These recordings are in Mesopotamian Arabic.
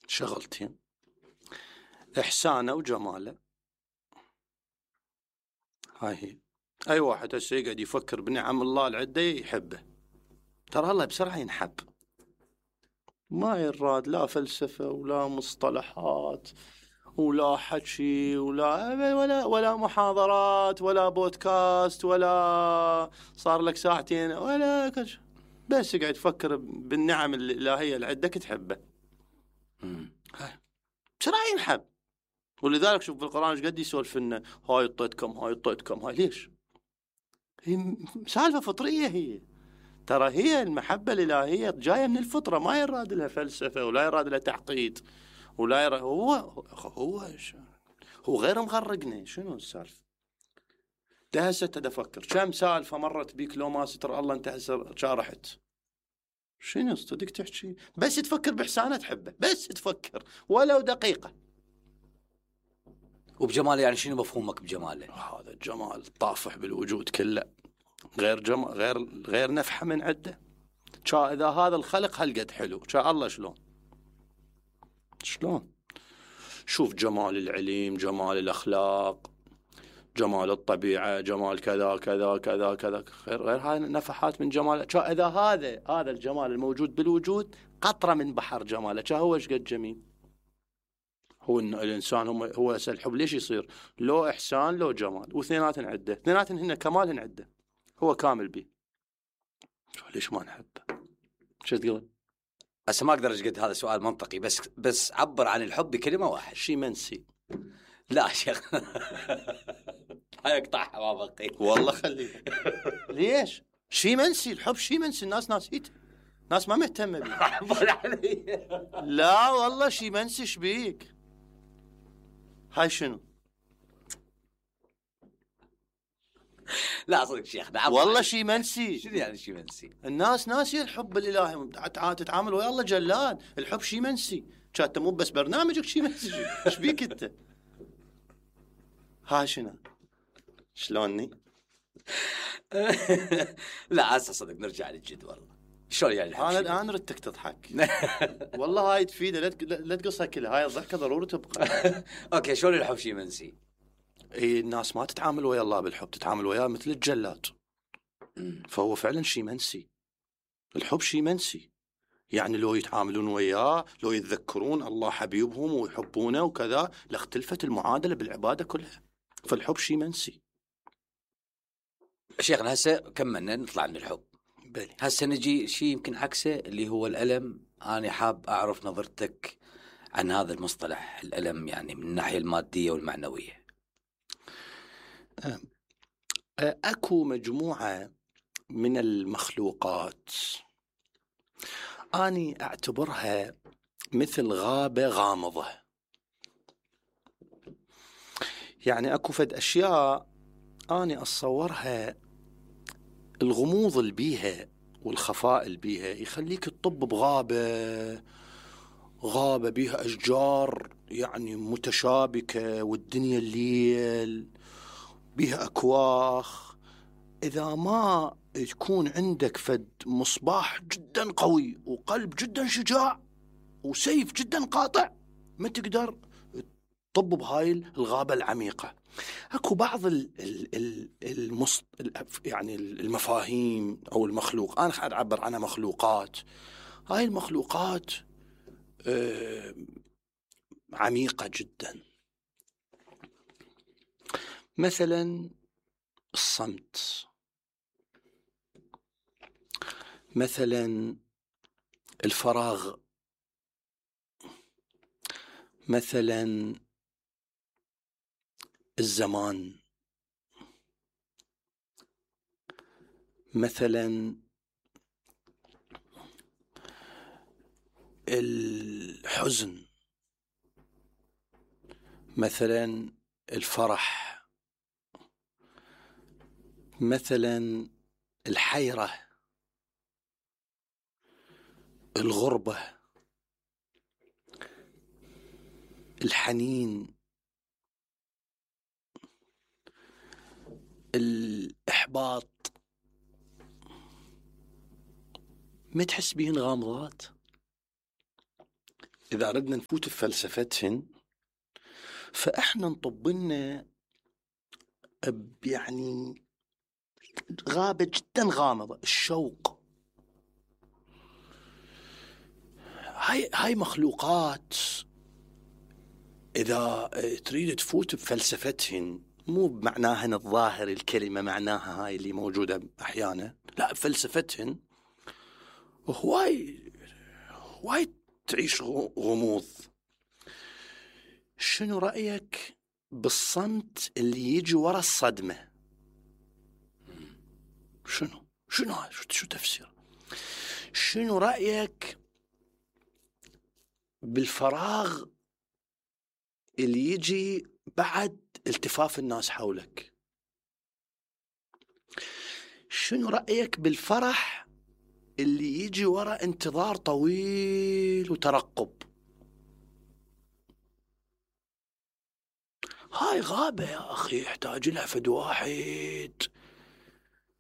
شغلتين: إحسانه وجماله. هاي هي. أي واحد هسه يقعد يفكر بنعم الله العدة يحبه، ترى الله بسرعة ينحب، ما يراد لا فلسفة ولا مصطلحات ولا حكي ولا محاضرات ولا بودكاست ولا صار لك ساعتين ولا كش، بس قاعد تفكر بالنعم الإلهية اللي عندك تحبه. بسرعة ينحب. ولذلك شوف بالقرآن ايش قد يسولف لنا: هاي اعطيتكم، هاي اعطيتكم، هاي ليش؟ هي سالفة فطرية هي. ترى هي المحبة الإلهية جاية من الفطرة، ما يراد لها فلسفة ولا يراد لها تعقيد ولا يراد. هو غير مغرقنا. شنو السالفة؟ ده هسه تفكر كم سالفة مرت بيك لو ما ستر الله انت هسه شارحت. شنو صدق تحكي؟ بس تفكر بإحسانه تحبه، بس تفكر ولو دقيقة. وبجماله يعني شنو مفهومك بجماله؟ هذا الجمال طافح بالوجود كله، غير نفحة من عده. إذا هذا الخلق هالقد حلو، الله شلون؟ شوف جمال العلم، جمال الأخلاق، جمال الطبيعة، جمال كذا كذا كذا كذا، غير هاي نفحات من جمال. إذا هذا الجمال الموجود بالوجود قطرة من بحر جماله، هو ايش قد جميل. هو الإنسان هو الحب ليش يصير؟ لو إحسان لو جمال، واثنيناتن عدة، اثنيناتن هن كمالهن عدة، هو كامل بيه، ليش ما نحبه؟ شو تقول؟ هسه ما اقدر اجد هذا سؤال منطقي، بس عبر عن الحب بكلمه واحد. شي منسي. لا شيخ هاي اقطعها ما بقي والله خليه. ليش؟ شي منسي، الحب شي منسي، الناس ناسيته، ناس ما مهتمه بيه. لا والله شي منسي. شبيك؟ هاي شنو؟ لا صدق شيخ والله شي منسي. شنو يعني شي منسي؟ الناس ناسيه الحب الإلهي، تتعامل ويا الله جلاد. الحب شي منسي، كانت مو بس برنامجك شي منسي. شبيك انت؟ هاي شنو؟ شلوني؟ لا هسه صدق نرجع للجد. والله شلون يعني انا ردتك تضحك. والله هاي تفيده، لا تقصها كلها، هاي الضحكه ضروري تبقى. اوكي شلون الحب شي منسي؟ الناس ما تتعامل ويا الله بالحب، تتعامل وياه مثل الجلاد. فهو فعلا شي منسي. الحب شي منسي، يعني لو يتعاملون وياه، لو يتذكرون الله حبيبهم ويحبونه وكذا، لاختلفت المعادله بالعباده كلها. فالحب شي منسي. شيخنا هسه كملنا نطلع من الحب، هسه نجي شيء يمكن عكسه اللي هو الألم. أنا حاب أعرف نظرتك عن هذا المصطلح الألم، يعني من الناحية المادية والمعنوية. أكو مجموعة من المخلوقات أني أعتبرها مثل غابة غامضة. يعني أكو فد أشياء أني أتصورها الغموض اللي بيها والخفاء اللي بيها يخليك تطب بغابة بيها أشجار يعني متشابكة، والدنيا الليل بيها أكواخ. إذا ما تكون عندك فد مصباح جدا قوي وقلب جدا شجاع وسيف جدا قاطع، ما تقدر تطب بهاي الغابة العميقة. اكو بعض يعني المفاهيم او المخلوق، انا قاعد اعبر عنها مخلوقات. هاي المخلوقات عميقة جدا. مثلا الصمت، مثلا الفراغ، مثلا الزمان، مثلا الحزن، مثلا الفرح، مثلا الحيرة، الغربة، الحنين، الإحباط. ما تحس بيهن غامضات؟ إذا أردنا نفوت بفلسفتهن فإحنا نطبلنا يعني غابة جدا غامضة، الشوق. هاي مخلوقات إذا تريد تفوت بفلسفتهن، مو بمعناها الظاهر الكلمة، معناها هاي اللي موجودة أحيانا، لا، فلسفتهن هواي تعيش غموض. شنو رأيك بالصمت اللي يجي ورا الصدمة؟ شنو هاي؟ شو تفسير؟ شنو رأيك بالفراغ اللي يجي بعد التفاف الناس حولك؟ شنو رأيك بالفرح اللي يجي ورا انتظار طويل وترقب؟ هاي غابة يا أخي، يحتاج لها فد واحد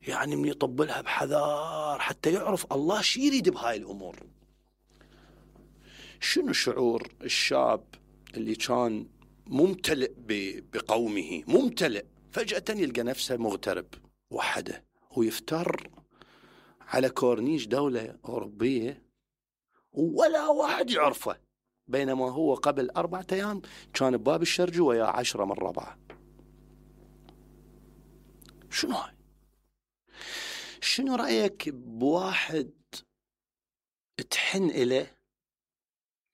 يعني من يطبلها بحذار حتى يعرف الله شي يريد بهاي الأمور. شنو شعور الشاب اللي كان ممتلئ بقومه، ممتلئ، فجأة يلقى نفسه مغترب وحده ويفتر على كورنيش دولة أوروبية ولا واحد يعرفه، بينما هو قبل 4 أيام كان بباب الشرجي ويا 10 من ربعه. شنو هاي؟ شنو رأيك بواحد تحن إليه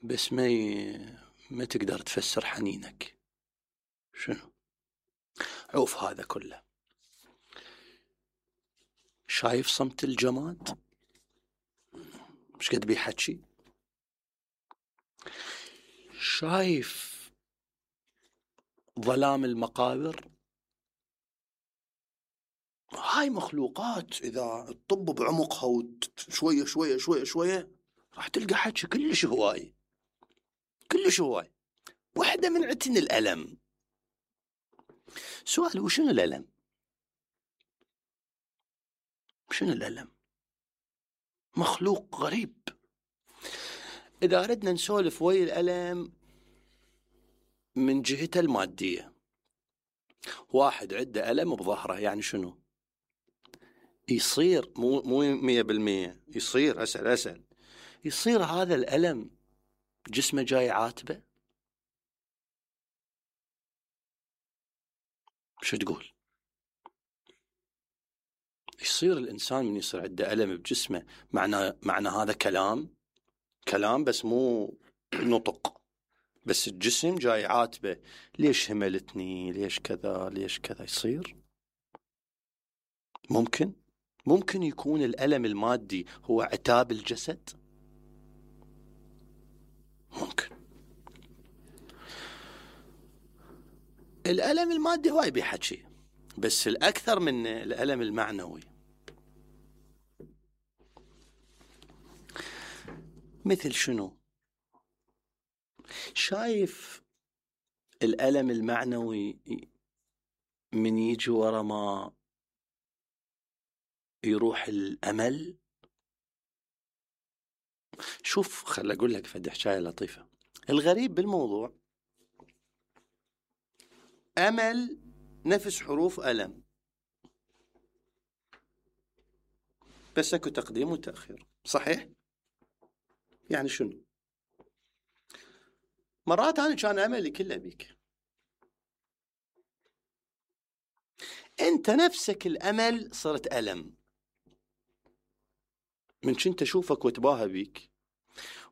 بس ما تقدر تفسر حنينك؟ شنو؟ عوف هذا كله. شايف صمت الجماد مش قد بيحكي؟ شايف ظلام المقابر؟ هاي مخلوقات إذا تطب بعمقها وشوية شوية شوية شوية راح تلقى حكي كلش هواي، كلش هواي. واحدة من عتن الألم. سؤال، وشنو الألم؟ شنو الألم؟ مخلوق غريب. إذا أردنا نسولف ويا الألم من جهته المادية، واحد عنده ألم بظهره، يعني شنو؟ يصير مو 100%، يصير أسأل يصير هذا الألم جسمه جاي عاتبه؟ شو تقول؟ يصير الإنسان من يصير عنده ألم بجسمه معنى هذا كلام بس مو نطق، بس الجسم جاي عاتبه، ليش هملتني، ليش كذا، ليش كذا. يصير ممكن يكون الألم المادي هو عتاب الجسد. ممكن. الألم المادي هواي بيحكي، بس الأكثر من الألم المعنوي. مثل شنو؟ شايف الألم المعنوي من يجي ورا ما يروح الأمل. شوف، خل أقول لك فد حكاية لطيفة. الغريب بالموضوع أمل نفس حروف ألم، بس اكو تقديم وتأخير، صحيح؟ يعني شنو؟ مرات أنا كان أملي كله بيك، أنت نفسك الأمل صرت ألم، من كنت أشوفك واتباهى بيك،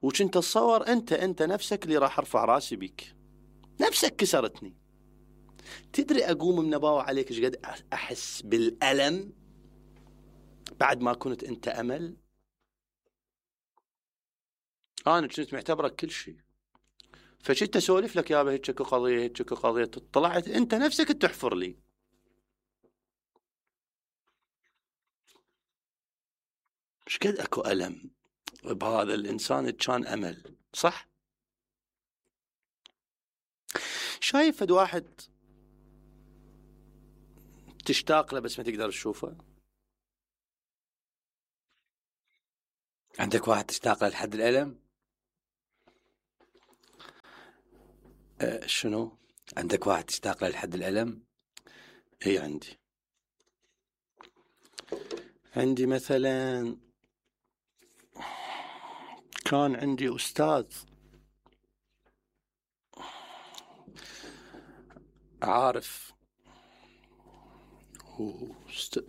وكنت أتصور أنت نفسك اللي راح أرفع راسي بيك، نفسك كسرتني. تدري أقوم منباوة عليك إيش قد أحس بالألم بعد ما كنت أنت أمل. أنا كنت معتبرك كل شيء، فشيت أسولف لك يابا هيك قضية، هيك قضية، طلعت أنت نفسك تحفر لي. إيش قد أكو ألم بهذا الإنسان كان أمل، صح؟ شايف فد واحد تشتاق له بس ما تقدر تشوفه؟ عندك واحد تشتاق له لحد الألم؟ شنو؟ عندك واحد تشتاق له لحد الألم؟ اي عندي مثلا كان عندي أستاذ عارف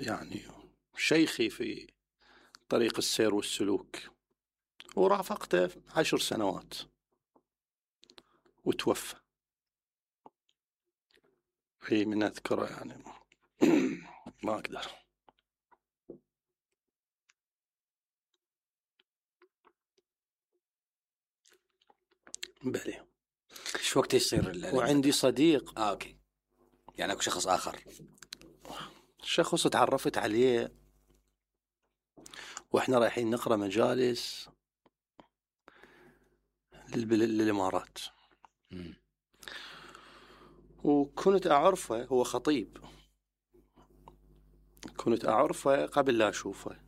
يعني شيخي في طريق السير والسلوك، ورافقته 10 سنوات وتوفى. في من أذكره يعني ما أقدر. بلي. شو وقت يصير الألم؟ وعندي صديق أوكي، يعني أكو شخص آخر، شخص تعرفت عليه وإحنا رايحين نقرأ مجالس للإمارات. وكنت أعرفه، هو خطيب، كنت أعرفه قبل لا أشوفه،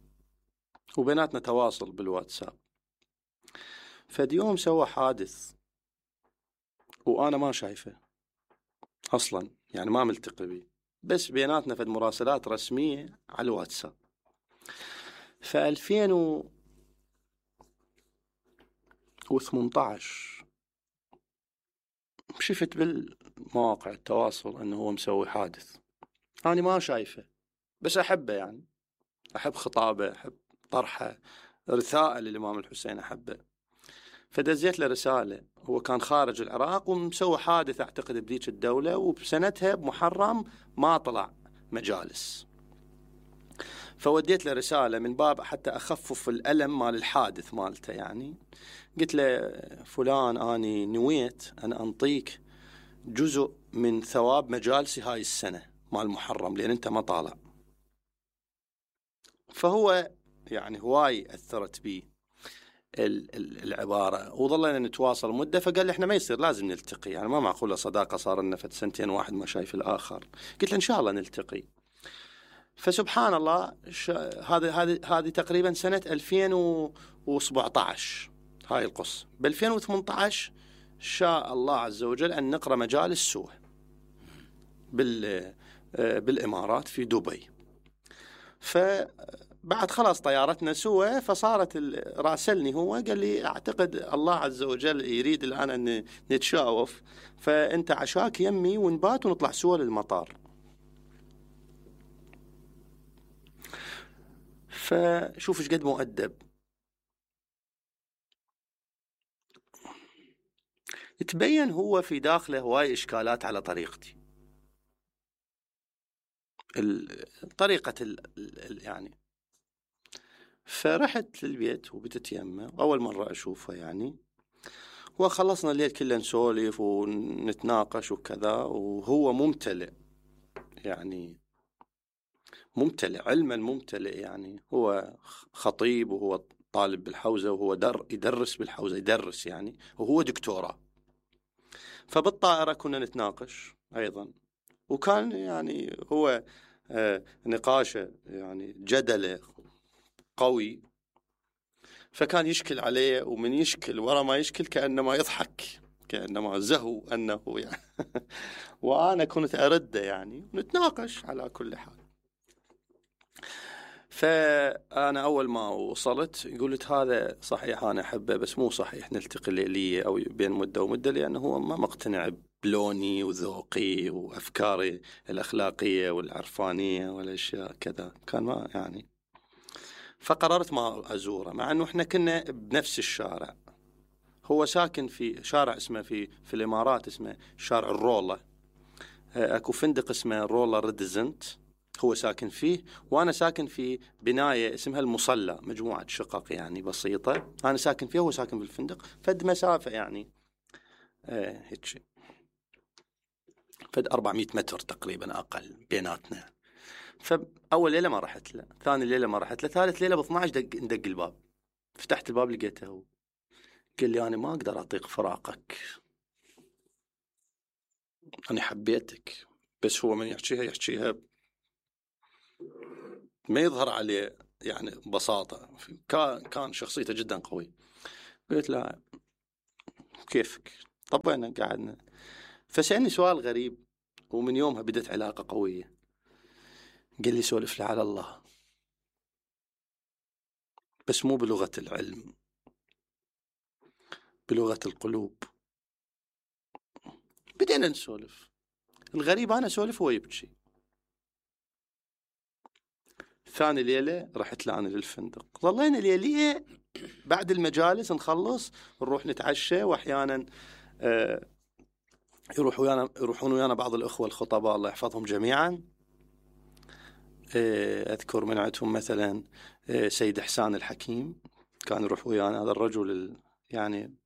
وبيناتنا تواصل بالواتساب. فديوم سوى حادث وأنا ما شايفه أصلا، يعني ما ملتقي بي، بس بيناتنا فد مراسلات رسمية على الواتساب. ف2018 شفت بالمواقع التواصل أنه هو مسوي حادث. أنا ما شايفه بس أحبه، يعني أحب خطابه، أحب طرحه، رثاء للإمام الحسين أحبه. فدزيت له رسالة، هو كان خارج العراق ومسوي حادث أعتقد بذيك الدولة، وبسنتها بمحرم ما طلع مجالس. فوديت له رسالة من باب حتى أخفف الألم مال الحادث مالته. يعني قلت له فلان، أني نويت أن أنطيك جزء من ثواب مجالسي هاي السنة مال محرم لأن أنت ما طالع. فهو يعني هواي أثرت بي العبارة، وظلنا نتواصل مدة. فقال لي إحنا ما يصير، لازم نلتقي، يعني ما معقولة صداقة صار لنا فد سنتين واحد ما شايف الآخر. قلت له إن شاء الله نلتقي. فسبحان الله، هذه تقريبا سنة 2017 هاي القصة. ب 2018 شاء الله عز وجل أن نقرأ مجالس سوا بالإمارات في دبي. فبعد خلاص طيارتنا سوا، فصارت راسلني هو قال لي أعتقد الله عز وجل يريد الآن أن نتشاوف، فأنت عشاك يمي ونبات ونطلع سوا للمطار. فشوف ايش قد مؤدب. تبين هو في داخله هواي إشكالات على طريقتي، طريقة يعني. فرحت للبيت وبتت يمه، أول مرة أشوفه يعني، وخلصنا الليل كله نسولف ونتناقش وكذا. وهو ممتلئ، يعني ممتلئ علما، ممتلئ يعني. هو خطيب وهو طالب بالحوزة، وهو يدرس بالحوزة، يدرس يعني، وهو دكتوراه. فبالطائرة كنا نتناقش أيضا، وكان يعني هو نقاشه يعني جدله قوي. فكان يشكل عليه، ومن يشكل ورا ما يشكل كأنما يضحك، كأنما زهو أنه يعني وأنا كنت أرده يعني، نتناقش على كل حال. فأنا أول ما وصلت قلت هذا صحيح أنا أحبه، بس مو صحيح نلتقي ليلية أو بين مدة ومدة، لأنه هو ما مقتنع بلوني وذوقي وأفكاري الأخلاقية والعرفانية والأشياء كذا. كان ما يعني. فقررت ما أزوره، مع أنه إحنا كنا بنفس الشارع. هو ساكن في شارع اسمه في الإمارات اسمه شارع الرولة، أكو فندق اسمه رولا ريدزنت هو ساكن فيه، وأنا ساكن في بناية اسمها المصلى، مجموعة شقق يعني بسيطة، أنا ساكن فيها وهو ساكن في الفندق. فد مسافة يعني هيك شيء، فد 400 متر تقريبا أقل بيناتنا. فأول ليلة ما رحت له، ثاني ليلة ما رحت له، ثالث ليلة ب 12 ندق الباب. فتحت الباب لقيته هو. قال لي أنا ما أقدر أطيق فراقك، أنا حبيتك. بس هو من يحكيها ما يظهر عليه يعني ببساطة. كان شخصيته جدا قوي. قلت له كيفك؟ طبعا قعدنا، فسألني سؤال غريب، ومن يومها بدت علاقة قوية. قال لي سولف لي على الله، بس مو بلغة العلم، بلغة القلوب. بدينا نسولف. الغريب أنا أسولف وهو يبكي. ثاني ليلة رحت لأنا للفندق، ظلينا ليلية بعد المجالس نخلص نروح نتعشى، وأحيانا يروحون ويانا بعض الأخوة الخطباء الله يحفظهم جميعا. أذكر من عندهم مثلا سيد حسان الحكيم، كان يروح ويانا، هذا الرجل يعني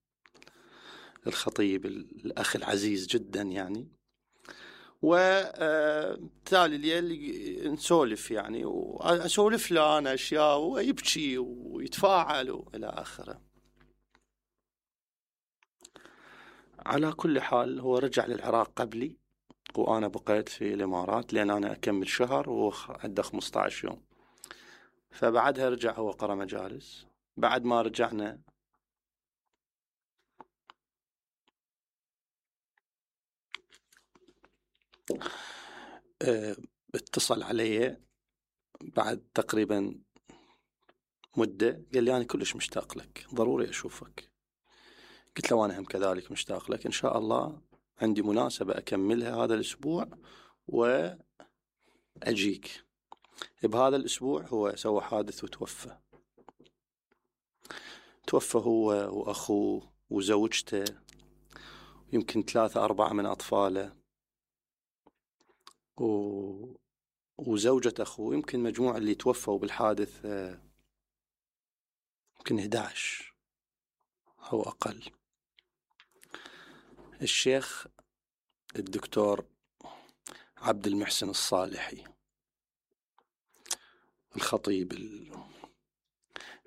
الخطيب الأخ العزيز جدا يعني. وتالي الليل نسولف يعني، وأسولف له أنا أشياء ويبكي ويتفاعل وإلى آخره. على كل حال هو رجع للعراق قبلي، وأنا بقيت في الإمارات لأن أنا أكمل شهر وعنده 15 يوم. فبعدها رجع هو قرأ مجالس. بعد ما رجعنا اتصل علي بعد تقريبا مدة، قال لي أنا كلش مشتاق لك، ضروري أشوفك. قلت له أنا هم كذلك مشتاق لك، إن شاء الله عندي مناسبة أكملها هذا الأسبوع وأجيك. بهذا الأسبوع هو سوى حادث وتوفى. توفى هو وأخوه وزوجته، يمكن 3-4 من أطفاله، وزوجة أخوه. يمكن مجموع اللي توفوا بالحادث يمكن 11 أو أقل. الشيخ الدكتور عبد المحسن الصالحي، الخطيب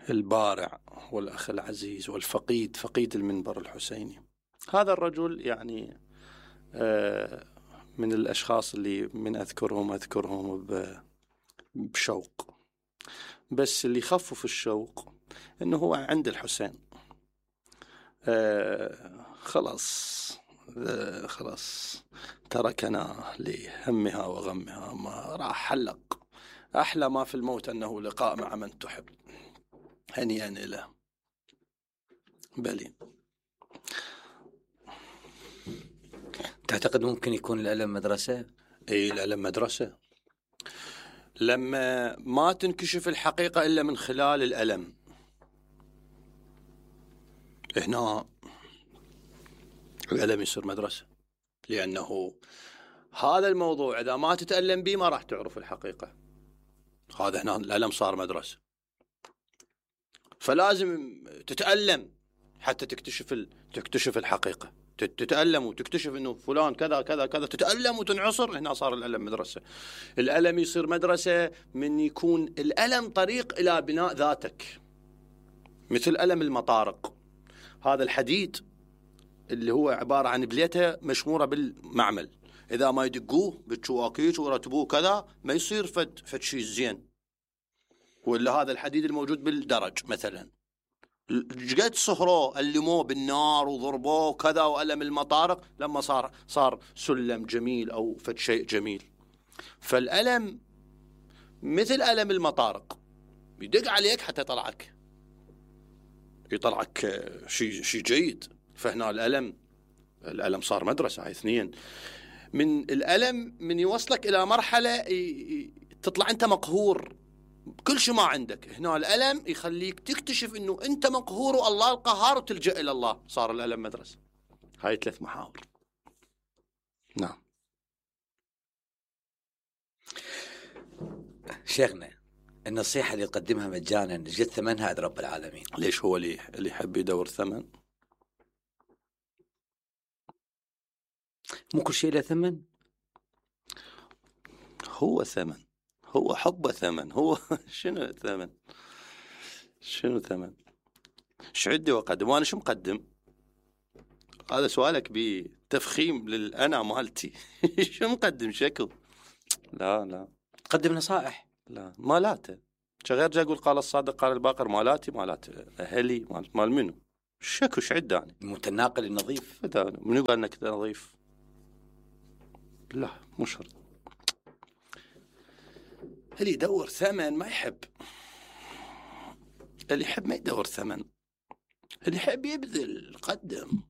البارع والأخ العزيز والفقيد، فقيد المنبر الحسيني. هذا الرجل يعني من الأشخاص اللي من أذكرهم بشوق، بس اللي خفف الشوق إنه هو عند الحسين. خلاص تركنا لهمها وغمها، ما راح حلق. أحلى ما في الموت أنه لقاء مع من تحب، هنيئا له. بلي. تعتقد ممكن يكون الألم مدرسة؟ اي الألم مدرسة. لما ما تنكشف الحقيقة إلا من خلال الألم، هنا الألم يصير مدرسة، لأنه هذا الموضوع إذا ما تتألم به ما راح تعرف الحقيقة. هذا هنا الألم صار مدرسة، فلازم تتألم حتى تكتشف الحقيقة. تتألم وتكتشف إنه فلان كذا كذا كذا، تتألم وتنعصر، هنا صار الألم مدرسة. الألم يصير مدرسة من يكون الألم طريق إلى بناء ذاتك، مثل ألم المطارق. هذا الحديد اللي هو عبارة عن بليته مشمورة بالمعمل، إذا ما يدقوه بالشواكيش ورتبوه كذا ما يصير فد شيء زين. ولا هذا الحديد الموجود بالدرج مثلا، قد صهروه ألموه بالنار وضربوه كذا، وألم المطارق لما صار سلم جميل أو فد شيء جميل. فالألم مثل ألم المطارق، يدق عليك حتى يطلعك شيء جيد. فهنا الألم صار مدرسة. هاي 2 من الألم من يوصلك إلى مرحلة تطلع أنت مقهور كل شيء ما عندك. هنا الألم يخليك تكتشف إنه أنت مقهور والله القهار، وتلجأ إلى الله. صار الألم مدرسة. هاي 3 محاور. نعم. شيخنا، النصيحة اللي تقدمها مجانا جد ثمنها عند رب العالمين. ليش هو اللي يحب يدور ثمن؟ مو كل شيء له ثمن. هو ثمن، هو حب ثمن. هو شنو ثمن؟ ايش عندي واقدم وانا شو مقدم؟ هذا سؤالك بتفخيم للأنا مالتي. شو مقدم؟ شكو؟ لا تقدم نصائح. لا مالاته. غير جا اقول قال الصادق قال الباقر، مالاتي مالات اهلي، مال منو؟ شكو شعد أنا متناقل النظيف. منو قال انك نظيف؟ لا مو شرط. اللي يدور ثمن ما يحب، اللي يحب ما يدور ثمن، اللي يحب يبذل قدم.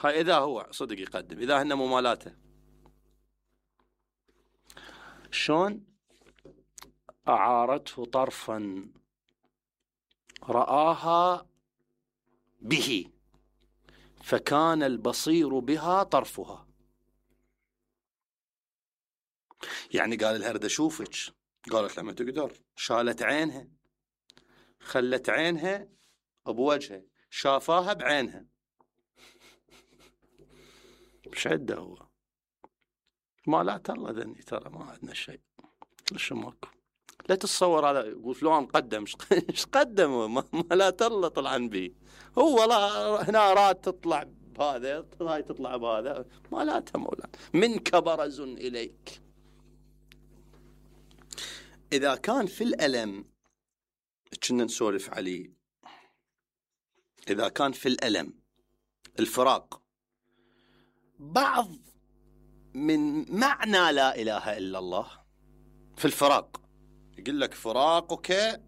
هاي إذا هو صدق يقدم، إذا هن ممالاته. شلون أعارته طرفا رآها به فكان البصير بها طرفها. يعني قال لها اريد اشوفك، قالت لما تقدر، شالت عينها، خلت عينها بوجهه، شافاها بعينها. مش عده هو ما لا الله ذني، ترى ما عندنا شيء. ليش ماكو؟ لا تتصور هذا يقول فلان قدم، ايش قدم؟ ما لا الله طلعن به هو. لا هنا راد تطلع بهذا، هاي تطلع بهذا، ما لا مولانا. منك برز اليك. اذا كان في الالم كنا نسولف عليه، اذا كان في الالم الفراق بعض من معنى لا اله الا الله، في الفراق يقول لك فراقك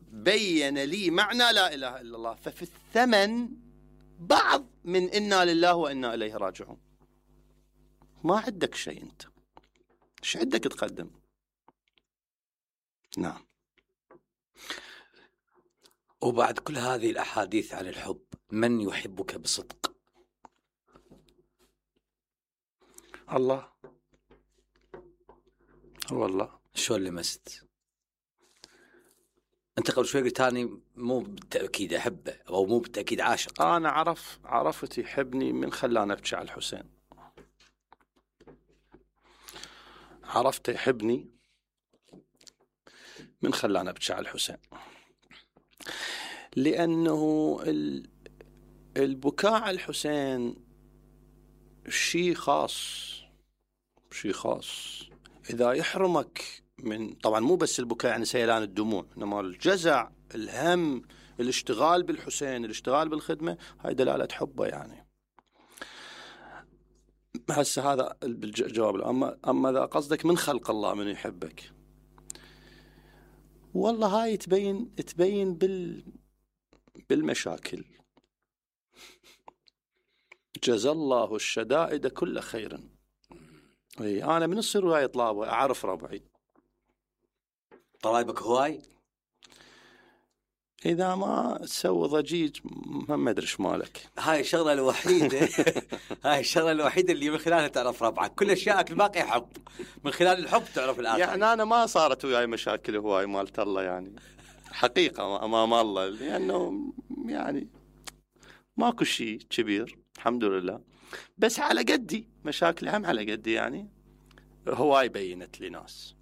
بين لي معنى لا اله الا الله، ففي الثمن بعض من انا لله وانا اليه راجعون. ما عندك شيء انت، ايش عندك تقدم؟ نعم. وبعد كل هذه الأحاديث عن الحب، من يحبك بصدق؟ الله. والله شلون لمست؟ أنت قبل شوي قلت أنا مو بالتأكيد أحبه أو مو بالتأكيد عاشق. أنا عرفت يحبني من خلاني أبكي على الحسين. عرفت يحبني من خلاني أبكي على الحسين، لأنه البكاء على الحسين شيء خاص، شيء خاص. إذا يحرمك من، طبعا مو بس البكاء يعني سيلان الدموع، إنما الجزع، الهم، الاشتغال بالحسين، الاشتغال بالخدمة، هاي دلالة حبه يعني. هسه هذا الجواب. أما إذا قصدك من خلق الله من يحبك، والله هاي تبين بالمشاكل. جزى الله الشدائد كل خير. أنا من الصير وياي طلابة أعرف ربعي. طلايبك هواي؟ إذا ما تسوي ضجيج ما أدري إيش مالك. هاي الشغلة الوحيدة هاي الشغلة الوحيدة اللي من خلالها تعرف ربعك. كل أشياءك الباقية حب، من خلال الحب تعرف الآخر. يعني أنا ما صارت وياي مشاكل هواي مالت الله يعني، حقيقة أمام الله، لأنه يعني ماكو شيء كبير الحمد لله. بس على قدي مشاكلي هم على قدي يعني. هواي بينت لي ناس.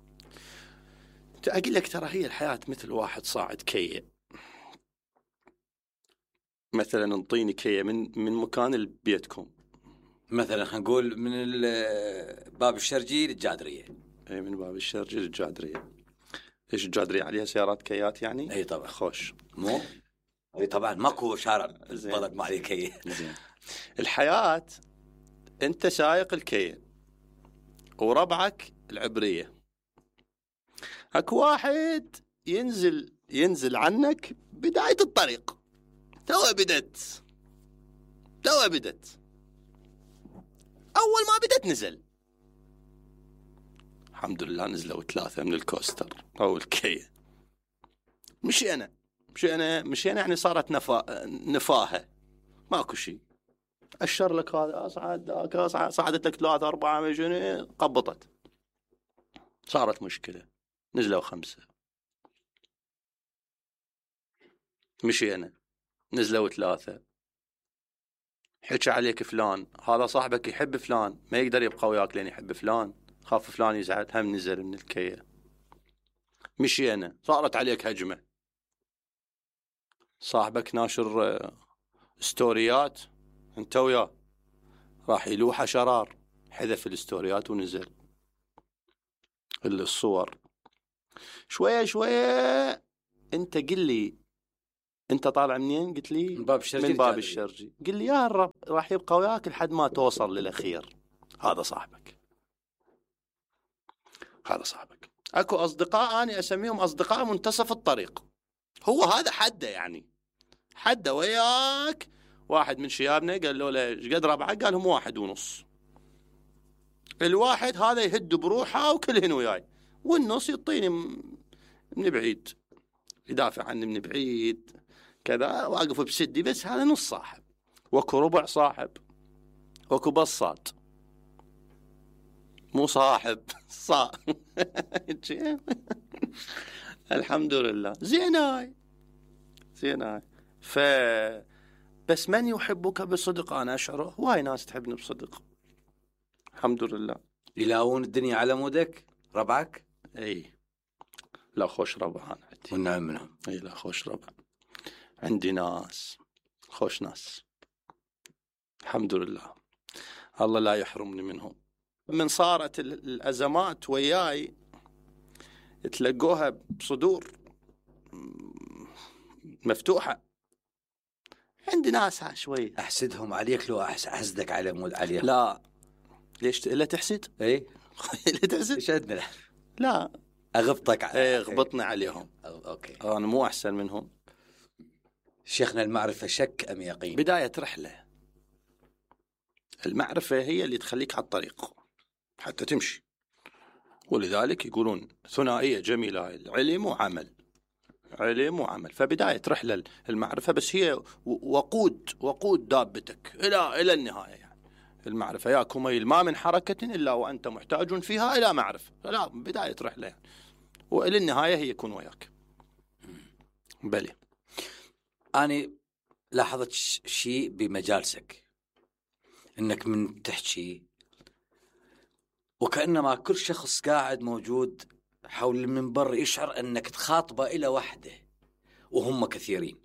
أقول لك ترى هي الحياة مثل واحد صاعد كية. مثلا انطيني كية من مكان بيتكم، مثلا خلينا نقول من باب الشرجي للجادرية. اي من باب الشرجي للجادرية. ايش الجادرية عليها سيارات كيات يعني؟ اي طبعا. خوش. مو اي طبعا ماكو شارع بالضبط ما عليه كية. زين. الحياة انت سايق الكية وربعك العبرية، اكو واحد ينزل عنك بداية الطريق، تو بدت اول ما بدت نزل. الحمد لله نزلوا 3 من الكوستر او الكية. مشينا يعني صارت نفاهة، ماكو شيء. أشر لك هذا أصعد صعدت لك 3 4 مجنون، قبطت، صارت مشكلة. نزلوا 5. مشينا نزلوا 3. حكى عليك فلان، هذا صاحبك يحب فلان، ما يقدر يبقى وياك لين يحب فلان، خاف فلان يزعل، هم نزل من الكية. مشينا صارت عليك هجمة، صاحبك ناشر ستوريات انت وياه، راح يلوحه شرار، حذف الستوريات ونزل الصور. شوية انت قل لي انت طالع منين؟ قلت لي من باب الشرجي. من باب الشرجي. قل لي يا الرب راح يبقى وياك لحد ما توصل للأخير. هذا صاحبك، هذا صاحبك. اكو اصدقاء انا اسميهم اصدقاء منتصف الطريق، هو هذا حده، يعني حده وياك. واحد من شيابنا قال له ايش قد ربعك؟ قال هم 1.5. الواحد هذا يهد بروحه وكلهن وياي، والنص يعطيني من بعيد، يدافع عني من بعيد كذا، واقف بسدي. بس هذا نص صاحب، واكو ربع صاحب، واكو بساط مو صاحب الحمد لله. زيناي زيناي. بس من يحبك بصدق أنا أشعره. هواي ناس تحبني بصدق الحمد لله. يلاون الدنيا على مودك ربعك؟ اي لا خوش ربع أنا عندي. والنعم منهم. اي لا خوش ربع عندي، ناس خوش ناس الحمد لله، الله لا يحرمني منهم. من صارت الأزمات وياي تلقوها بصدور مفتوحة. عندي ناس شوي احسدهم عليك لو احسدك على مود عليهم. لا ليش لا تحسد؟ اي لا تحسد. ايش عندنا؟ لا اغبطك ايه غبطني عليهم. اوكي انا مو احسن منهم. شيخنا، المعرفة شك ام يقين؟ بداية رحلة. المعرفة هي اللي تخليك على الطريق حتى تمشي، ولذلك يقولون ثنائية جميلة، علم وعمل، علم وعمل. فبداية رحلة المعرفة، بس هي وقود دابتك إلى النهاية. يعني المعرفة يا كميل ما من حركة إلا وأنت محتاج فيها إلى معرفة. لا بداية رحلة يعني، وإلى النهاية هي يكون وياك. بلي أنا لاحظت شيء بمجالسك، إنك من تحكي وكأنما كل شخص قاعد موجود حول المنبر يشعر أنك تخاطبه إلى وحده وهم كثيرين.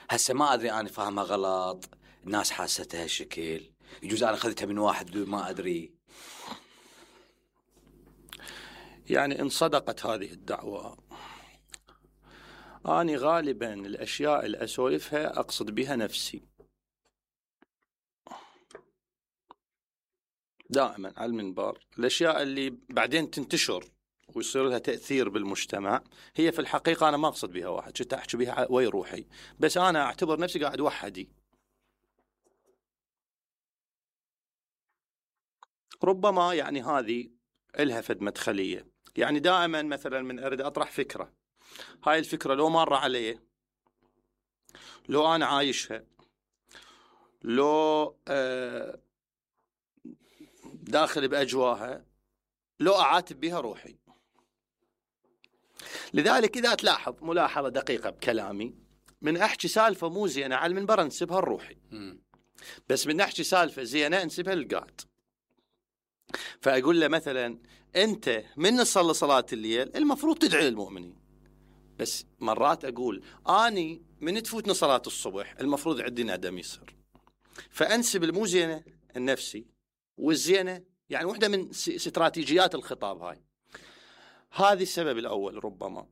هسه ما أدري أنا فاهمها غلط، الناس حاستها شكل، يجوز أنا أخذتها من واحد ما أدري. يعني إن صدقت هذه الدعوة، أنا غالبا الأشياء اللي أسولفها أقصد بها نفسي دائما على المنبر. الأشياء اللي بعدين تنتشر ويصير لها تأثير بالمجتمع هي في الحقيقة أنا ما أقصد بها واحد، شتا أحكي بها وي روحي، بس أنا أعتبر نفسي قاعد وحدي. ربما يعني هذه إلها فد مدخلية. يعني دائما مثلا من أريد أطرح فكرة، هاي الفكرة لو مر علي، لو أنا عايشها، لو داخل بأجواها، لو أعاتب بها روحي. لذلك إذا تلاحظ ملاحظة دقيقة بكلامي، من أحكي سالفة مو زينة على المنبر أنسبها لروحي، بس من أحكي سالفة زينة أنسبها للقاعد. فأقول له مثلا أنت من نصلي صلاة الليل المفروض تدعي للمؤمنين، بس مرات أقول أني من تفوتني صلاة الصبح المفروض عندي ندم يصير. فأنسب المو زينة النفسي والزينة، يعني واحدة من استراتيجيات الخطاب هاي. هذه السبب الأول. ربما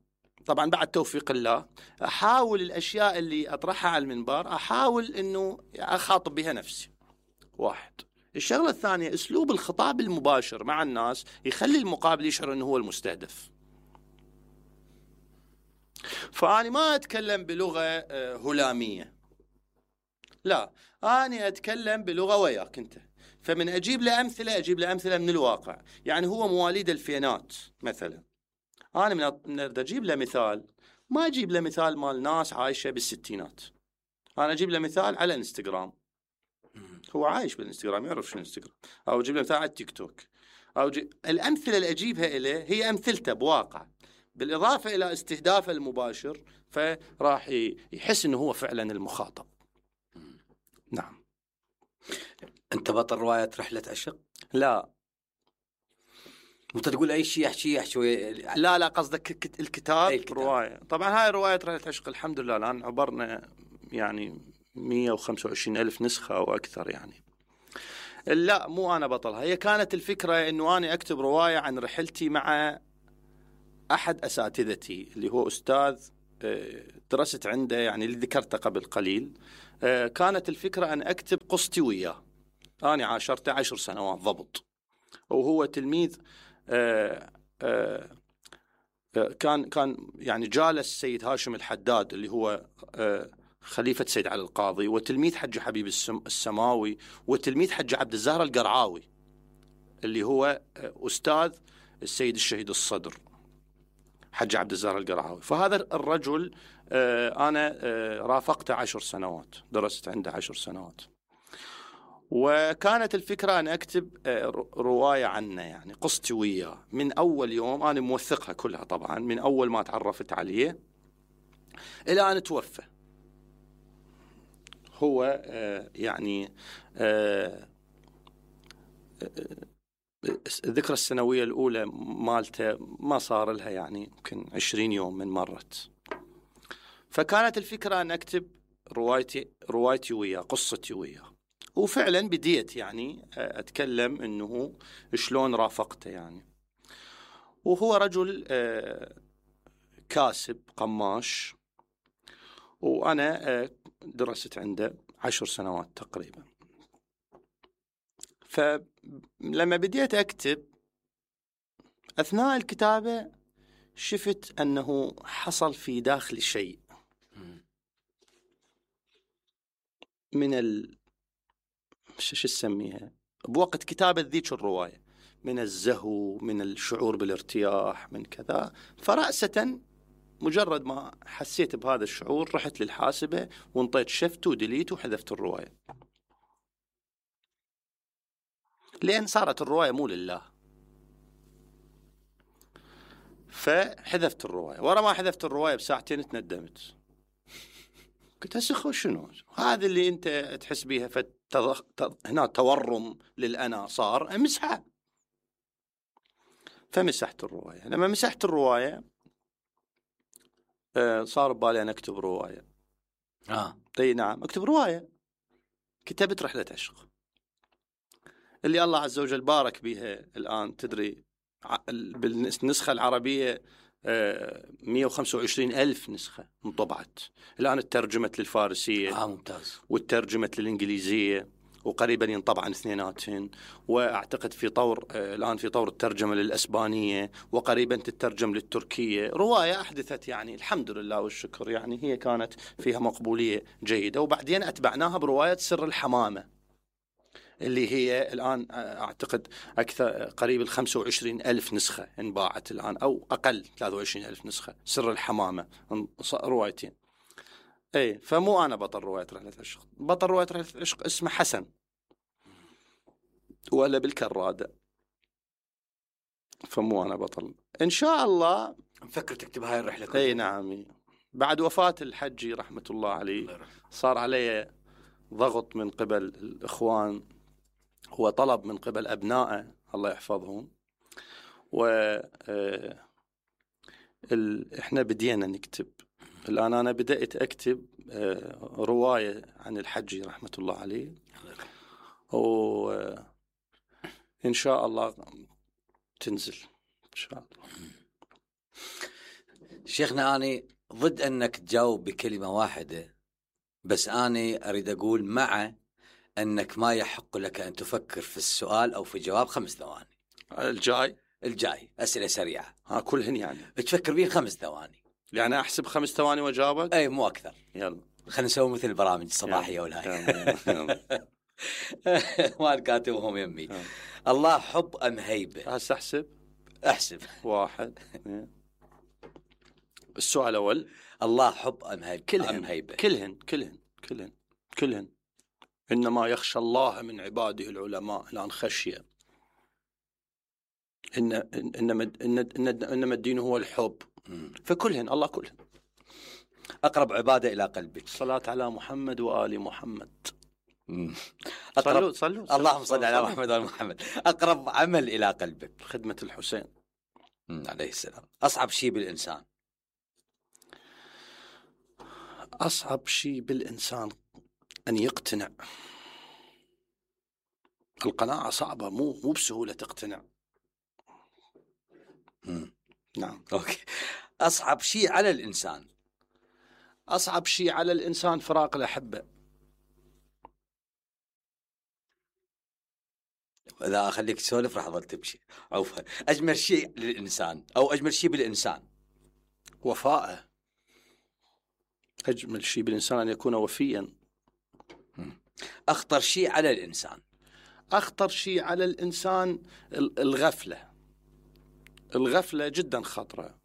طبعا بعد توفيق الله أحاول الأشياء اللي أطرحها على المنبر أحاول أنه أخاطب بها نفسي. واحد. الشغلة الثانية أسلوب الخطاب المباشر مع الناس يخلي المقابل يشعر أنه هو المستهدف. فأنا ما أتكلم بلغة هلامية، لا أنا أتكلم بلغة وياك أنت. فمن أجيب له أمثلة من الواقع. يعني هو مواليد الفينات مثلا، أنا من أجيب له مثال، ما أجيب له مثال مال ناس عايشة بالستينات، أنا أجيب له مثال على انستغرام، هو عايش بالانستغرام يعرف شو انستغرام، أو أجيب له مثال على التيك توك، أو الأمثلة اللي أجيبها إليه هي أمثلته بواقع، بالإضافة إلى استهدافه المباشر، فراح يحس إنه هو فعلا المخاطب. نعم. أنت بطل رواية رحلة عشق؟ لا أنت تقول أي شيء أحكي لا قصدك الكتاب. الكتاب. رواية. طبعا هاي رواية رحلة عشق الحمد لله الآن عبرنا يعني 125,000 نسخة أو أكثر. يعني لا مو أنا بطلها، هي كانت الفكرة أنه أنا أكتب رواية عن رحلتي مع أحد أساتذتي اللي هو أستاذ درست عنده يعني اللي ذكرته قبل قليل. كانت الفكرة أن أكتب قصتي وياه. أنا عاشرته 10 سنوات ضبط، وهو تلميذ. كان يعني جالس السيد هاشم الحداد اللي هو خليفة سيد علي القاضي، وتلميذ حج حبيب السماوي، وتلميذ حج عبد الزهر القرعاوي اللي هو أستاذ السيد الشهيد الصدر حج عبد الزهر القرعاوي. فهذا الرجل أنا رافقته 10 سنوات، درست عنده 10 سنوات. وكانت الفكرة أن أكتب رواية عنه، يعني قصتي وياه من أول يوم. أنا موثقها كلها طبعا، من أول ما تعرفت عليه إلى أن توفى. هو يعني الذكرى السنوية الأولى مالته ما صار لها يعني يمكن 20 يوم من مرت. فكانت الفكرة أن أكتب روايتي وياه، قصتي وياه. وفعلا بديت يعني أتكلم أنه شلون رافقته يعني. وهو رجل كاسب قماش، وأنا درست عنده 10 سنوات تقريبا. فلما بديت أكتب أثناء الكتابة شفت أنه حصل في داخلي شيء من شو تسميها بوقت كتابة ذيك الرواية، من الزهو، من الشعور بالارتياح، من كذا. فرأسة مجرد ما حسيت بهذا الشعور رحت للحاسبة وانطيت شفت وديليت وحذفت الرواية، لأن صارت الرواية مو لله. فحذفت الرواية. ورا ما حذفت الرواية بساعتين تندمت، قلت هسه شنو هذا اللي انت تحس بيها هنا تورم للأنا صار امسحها. فمسحت الرواية. لما مسحت الرواية صار ببالي أن أكتب رواية. اي نعم، أكتب رواية. كتبت رحلة عشق اللي الله عز وجل بارك بها. الآن تدري بالنسخة العربية 125,000 نسخة انطبعت. الآن ترجمت للفارسية ممتاز، والترجمت للإنجليزية، وقريبا ينطبعن اثنيناتهن. وأعتقد في طور الآن في طور الترجمة للأسبانية، وقريبا تترجم للتركية. رواية أحدثت يعني الحمد لله والشكر، يعني هي كانت فيها مقبولية جيدة. وبعدين أتبعناها برواية سر الحمامة اللي هي الآن أعتقد أكثر قريب 25,000 نسخة انباعت الآن، أو أقل 23,000 نسخة. سر الحمامة روايتين. اي فمو أنا بطل رواية رحلة العشق. بطل رواية رحلة العشق اسمه حسن، ولا بالكرادة. فمو أنا بطل. إن شاء الله مفكر تكتب هاي الرحلة كلها. اي نعم. بعد وفاة الحجي رحمة الله عليه صار علي ضغط من قبل الإخوان، هو طلب من قبل أبنائه الله يحفظهم، إحنا بدينا نكتب. الآن أنا بدأت أكتب رواية عن الحجي رحمة الله عليه، وإن شاء الله تنزل إن شاء الله. شيخنا أنا ضد أنك تجاوب بكلمة واحدة، بس أنا أريد أقول مع أنك ما يحق لك أن تفكر في السؤال أو في جواب 5 ثواني. الجاي أسئلة سريعة كلهن يعني تفكر بيه 5 ثواني، يعني أحسب 5 ثواني وجاوبك. أي مو أكثر. يلا خلينا نسوي مثل البرامج الصباحية والهاي. ما الكاتبهم يمي. الله حب أم هيبة؟ هسه أحسب 1 2. السؤال الأول الله حب أم هيبة؟ كلهن. إنما يخشى الله من عباده العلماء. الآن خشية. إنما الدين هو الحب. فكلهن الله كلهن. أقرب عبادة إلى قلبك؟ الصلاة على محمد وآل محمد. صلوا اللهم صل على محمد وآل محمد. أقرب عمل إلى قلبك؟ خدمة الحسين عليه السلام. أصعب شيء بالإنسان؟ أصعب شيء بالإنسان أن يقتنع. القناعة صعبة، مو بسهولة تقتنع. نعم. أوكي. أصعب شيء على الإنسان؟ أصعب شيء على الإنسان فراق الأحبة. إذا أخليك تسولف راح أظل تمشي. عوفا، أجمل شيء للإنسان أو أجمل شيء بالإنسان؟ وفاءه. أجمل شيء بالإنسان أن يكون وفيا. أخطر شيء على الإنسان؟ أخطر شيء على الإنسان الغفلة. الغفلة جدا خطرة.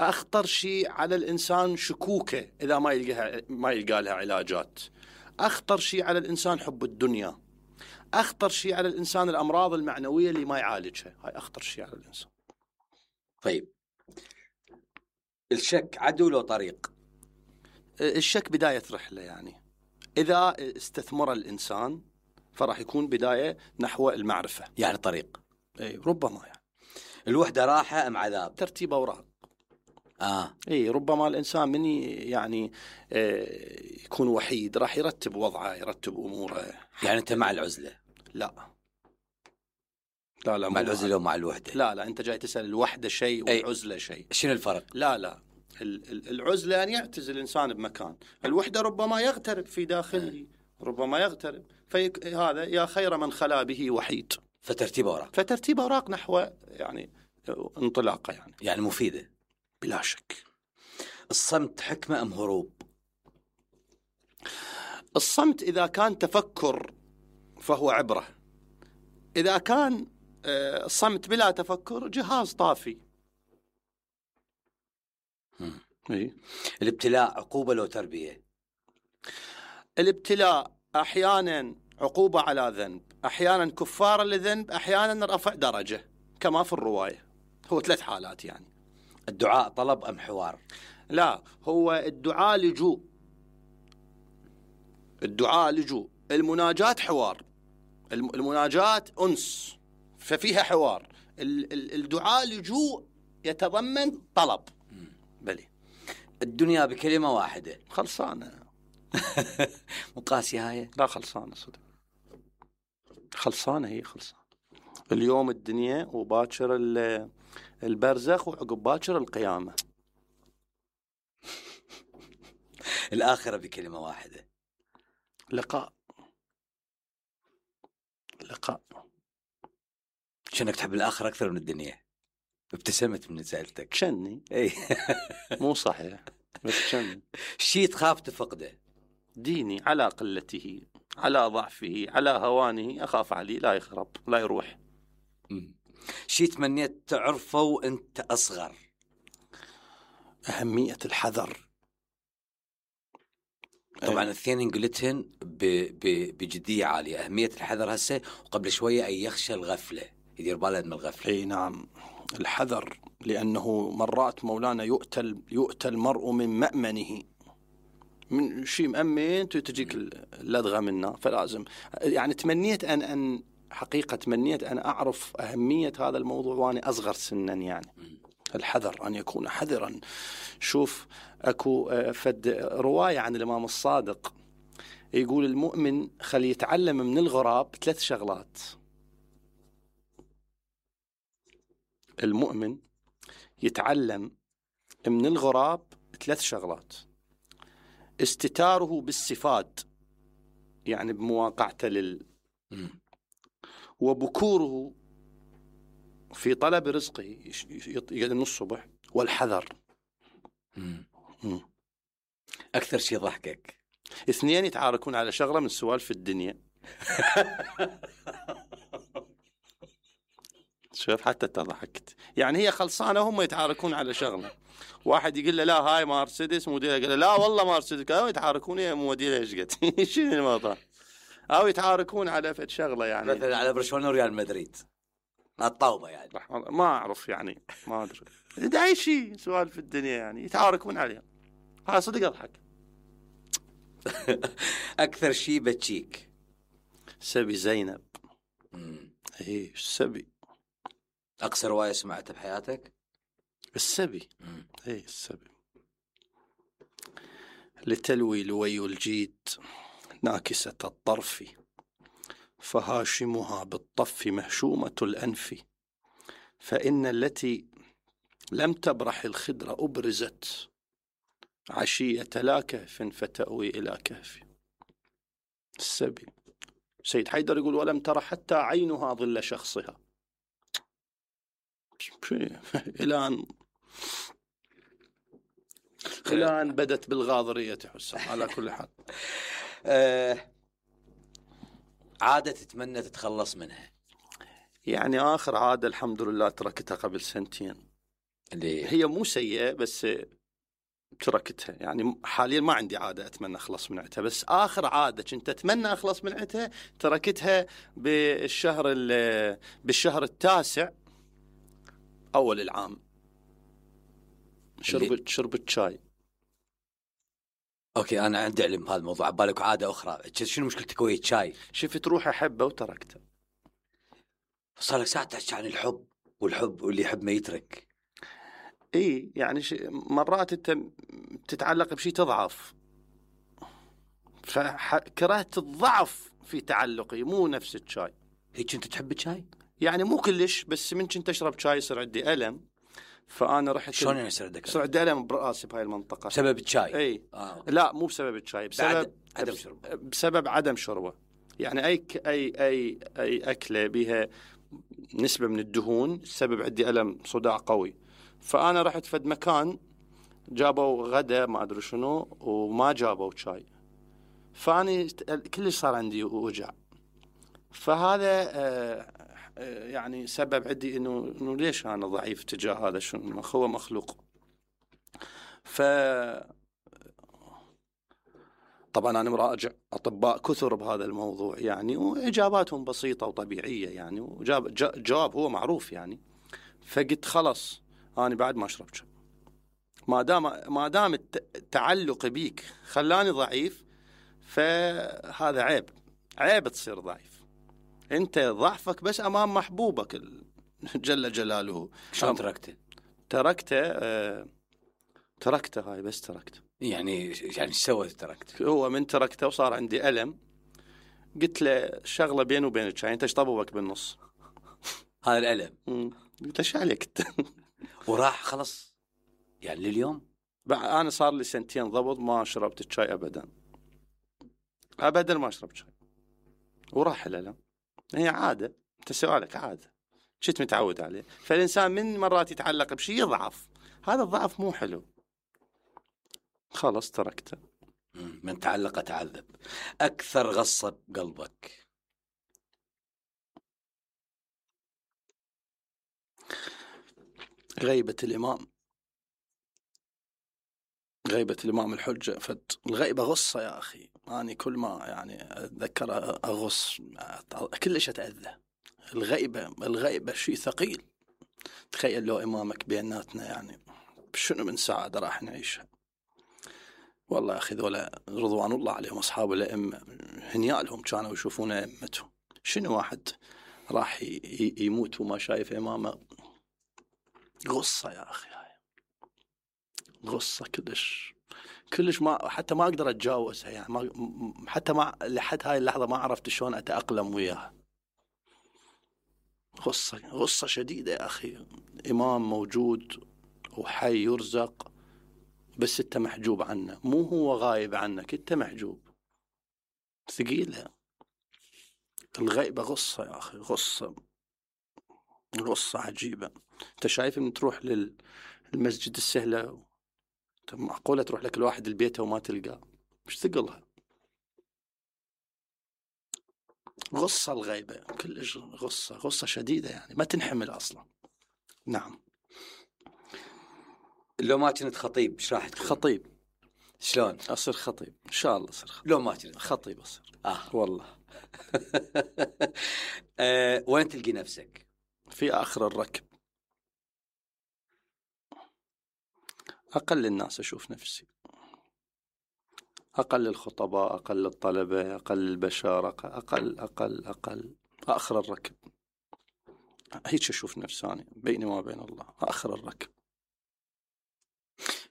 أخطر شيء على الإنسان شكوكه إذا ما يلقى لها علاجات. أخطر شيء على الإنسان حب الدنيا. أخطر شيء على الإنسان الأمراض المعنوية اللي ما يعالجها. هاي أخطر شيء على الإنسان. طيب، الشك عدو لو طريق؟ الشك بداية رحلة، يعني إذا استثمر الإنسان فراح يكون بداية نحو المعرفة، يعني طريق. أي ربما يعني. الوحدة راحة أم عذاب؟ ترتيب أوراق. اي ربما الإنسان من يعني يكون وحيد راح يرتب وضعه، يرتب أموره. يعني أنت مع العزلة؟ لا مع العزلة ومع الوحدة؟ لا أنت جاي تسأل الوحدة شيء والعزلة شيء. شنو الفرق؟ لا العزلة أن يعتزل الإنسان بمكان، الوحدة ربما يغترب في داخله، ربما يغترب، هذا يا خير من خلا به وحيد. فترتيب أوراق نحو يعني انطلاقة، يعني مفيدة بلا شك. الصمت حكمة أم هروب؟ الصمت إذا كان تفكر فهو عبرة، إذا كان الصمت بلا تفكر جهاز طافي. الابتلاء عقوبة لو تربية؟ الابتلاء أحيانا عقوبة على ذنب، أحيانا كفارة لذنب، أحيانا رفع درجة كما في الرواية. هو 3 حالات يعني. الدعاء طلب أم حوار؟ لا، هو الدعاء لجوء. الدعاء لجوء. المناجاة حوار. المناجاة أنس ففيها حوار. الدعاء لجوء يتضمن طلب. بلي. الدنيا بكلمة واحدة؟ خلصانة. مقاسي هاي؟ لا خلصانة صدق. خلصانة هي خلصانة. اليوم الدنيا وباكر البرزخ وعقب باكر القيامة. الآخرة بكلمة واحدة؟ لقاء. شنك تحب الآخرة أكثر من الدنيا؟ ابتسمت من سألتك. شني؟ اي مو صحيح بس شني. شي تخاف تفقده؟ ديني على قلته، على ضعفه، على هوانه أخاف عليه لا يخرب لا يروح. شي تمنيت تعرفه وانت أصغر؟ أهمية الحذر. طبعا الاثنين قلتهن بجدية عالية. أهمية الحذر هسه، وقبل شوية أن يخشى الغفلة، يدير باله من الغفلة. اي نعم، الحذر، لأنه مرات مولانا يؤتى المرء من مأمنه، من شيء مأمن تجيك اللدغة منه. فلازم يعني تمنيت أن حقيقة تمنيت أن أعرف أهمية هذا الموضوع وأنا أصغر سنا. يعني الحذر، أن يكون حذرا. شوف أكو فد رواية عن الإمام الصادق يقول المؤمن خلي يتعلم من الغراب 3 شغلات. المؤمن يتعلم من الغراب 3 شغلات: استتاره بالصفات، يعني بمواقعته وبكوره في طلب رزقه يقعد من الصبح، والحذر. أكثر شيء ضحكك؟ 2 يتعاركون على شغلة من سوالف الدنيا. شوف حتى تضحكت، يعني هي خلصانة هم يتعاركون على شغلة. واحد يقول له لا هاي مرسيدس موديلها، قال له لا والله مرسيدس، أو يتعاركون يا موديلها ايش قد. شنو الموضوع؟ أو يتعاركون على فد شغلة، يعني مثلا على برشلونة وريال مدريد الطاوبة، يعني ما أعرف، يعني ما أدري داعي شيء سوالف الدنيا يعني يتعاركون عليها. ها صدق أضحك. أكثر شيء بتشيك؟ سبي زينب. إيه السبي. أقصر رواية سمعتها بحياتك؟ السبي. إيه السبي. لتلوي لوي الجيد ناكسة الطرف، فهاشمها بالطف مهشومة الأنف، فإن التي لم تبرح الخدر أبرزت، عشية لا كهف فتأوي إلى كهف السبي. سيد حيدر يقول ولم ترى حتى عينها ظل شخصها إلى أن بدت بالغاضرية حسام. على كل حال عادة تتمنى تتخلص منها؟ يعني آخر عادة الحمد لله تركتها قبل 2 سنين. هي مو سيئة بس تركتها. يعني حاليا ما عندي عادة أتمنى أخلص من عتها، بس آخر عادة كنت أتمنى أخلص من عتها تركتها بالشهر 9 أول العام. شربت شاي. اوكي انا عندي علم بهذا الموضوع. بالك عاده اخرى شنو مشكلتك ويا الشاي؟ شفت روح احبه وتركته. صار لك ساعه تحكي عن الحب واللي يحب ما يترك. اي يعني مرات انت تتعلق بشيء تضعف، فكرهت الضعف في تعلقي مو نفس الشاي. هيك انت تحب الشاي؟ يعني مو كلش، بس من كنت اشرب شاي يصير عندي الم، فانا رحت. شلون يعني يصير عندك؟ يصير عندي الم براسي بهاي المنطقه بسبب الشاي؟ اي لا مو بسبب الشاي، بسبب عدم شربه. بسبب عدم شربه. يعني اي اكله بها نسبه من الدهون سبب عندي الم صداع قوي. فانا رحت فد مكان جابوا غدا ما ادري شنو وما جابوا شاي، فاني كلش صار عندي وجع. فهذا يعني سبب عندي انه ليش انا ضعيف تجاه هذا، شنو هو مخلوق. طبعا انا مراجع اطباء كثر بهذا الموضوع يعني، واجاباتهم بسيطه وطبيعيه يعني، جواب هو معروف يعني. فقلت خلص انا بعد ما اشرب شاي، ما دام التعلق بيك خلاني ضعيف، فهذا عيب تصير ضعيف. انت ضعفك بس امام محبوبك جل جلاله. شلون تركته؟ تركته هاي بس تركته. يعني ايش سويت تركته؟ هو من تركته وصار عندي ألم، قلت له شغله بيني وبينك الشاي، انت ايش طببك بالنص؟ هذا الألم. قلت ايش عليك انت؟ وراح خلص يعني لليوم. انا صار لي 2 سنين ضبط ما شربت الشاي ابدا ما شربت شاي، وراح الألم. هي عاده، انت سؤالك عاده شت متعود عليه. فالانسان من مرات يتعلق بشيء يضعف، هذا الضعف مو حلو. خلص تركته. من تعلق تعذب. اكثر غصه بقلبك؟ غيبة الإمام الحجة. الغيبة غصة يا أخي. أنا كل ما يعني أتذكر أغص كلش أتأذى. الغيبة شيء ثقيل. تخيل لو إمامك بيناتنا، يعني شنو من سعادة راح نعيشها. والله يا أخي ذولا رضوان الله عليهم أصحاب الأئمة هنيالهم كانوا يشوفون أئمتهم. شنو واحد راح يموت وما شايف إمامه؟ غصة يا أخي، هاي غصة كلش ما حتى ما أقدر أتجاوزها يعني. حتى ما لحد هاي اللحظة ما عرفت شلون أتأقلم وياها. غصة شديدة يا أخي. إمام موجود وحي يرزق، بس أنت محجوب عنه، مو هو غايب عنك، أنت محجوب. ثقيلة الغيبة. غصة يا أخي، غصة عجيبة. أنت شايف من تروح للمسجد السهلة، معقولة تروح لك الواحد البيت وما تلقاه؟ مش ثقلها. غصة الغيبة كلش غصة شديدة يعني ما تنحمل أصلا. نعم. لو ما كنت خطيب ايش راح تكون؟ خطيب. شلون؟ أصير خطيب إن شاء الله. أصير خطيب. لو ما كنت خطيب أصير. والله. وين تلقي نفسك؟ في آخر الركب. أقل الناس أشوف نفسي، أقل الخطباء، أقل الطلبة، أقل البشر، أقل آخر الركب. هيك أشوف نفساني بيني وما بين الله، آخر الركب.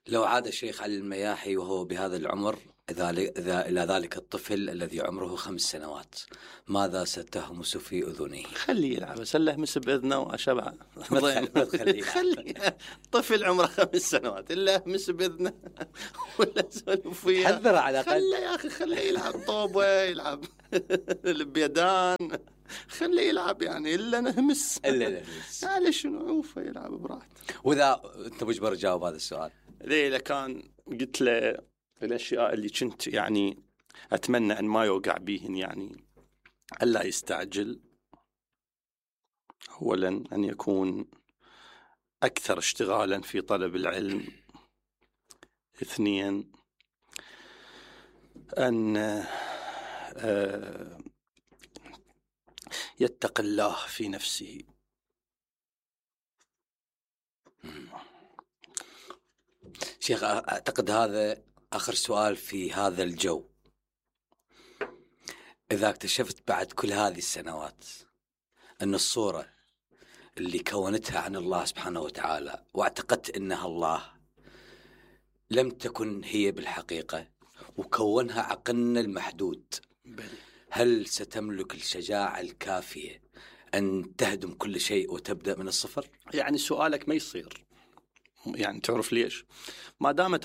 لو عاد الشيخ علي المياحي وهو بهذا العمر إلى ذلك الطفل الذي عمره 5 سنوات، ماذا ستهمس في أذنه؟ خليه يلعب، اسله همس باذنه واشبع. خليه طفل عمره 5 سنوات الا همس باذنه ولا سولف وياه. حذره على الأقل. خليه يا اخي، خليه يلعب طوبه، يلعب البيدان، خليه يلعب يعني الا نهمس. يعني شنو، عوفه يلعب براحته. واذا انت مجبر تجاوب هذا السؤال، ليه كان قلت له الاشياء اللي كنت يعني اتمنى ان ما يوقع بيهن، يعني الا يستعجل. اولا ان يكون اكثر اشتغالا في طلب العلم. 2 ان يتقي الله في نفسه. شيخ أعتقد هذا آخر سؤال في هذا الجو. إذا اكتشفت بعد كل هذه السنوات أن الصورة اللي كونتها عن الله سبحانه وتعالى واعتقدت أنها الله لم تكن هي بالحقيقة وكونها عقلنا المحدود، هل ستملك الشجاعة الكافية أن تهدم كل شيء وتبدأ من الصفر؟ يعني سؤالك ما يصير، يعني تعرف ليش؟ ما دام